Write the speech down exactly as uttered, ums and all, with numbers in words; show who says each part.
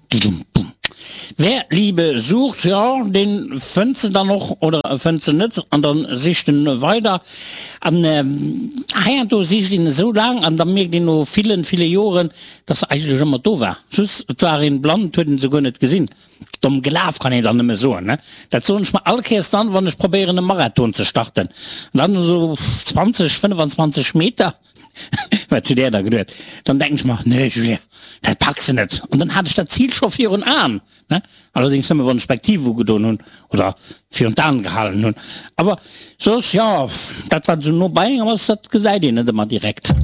Speaker 1: Dudum, bum. Wer Liebe sucht, jo, deen fënnt se dann och oder e fënnt se net an dann sicht en weider. An heiansdo sicht een esou laang an da mierkt een no villen, ville Joren, dass se eigentlech ëmmer do war. Just et war een blann, et huet een se guer net gesinn. Domm gelaf kann een dann nëmme soen, ne? Dat soen ech mer all Kéiers dann, wann ech probéieren e Marathon ze starten. An dann esou zwanzeg, fënnefenzwanzeg Meter, wat hutt Där da geduet? Dann denken ech mer, Nee Julien, dat packs de net. An dann hat ech dat Zil scho virun Aen, ne? Allerdéngs nëmme wann ech d'Spektiv ugedoen hunn oder virun d'Aen gehalen hunn. Awer soss, jo, dat wat esou no bei engem ass, dat gesäit een net ëmmer direkt.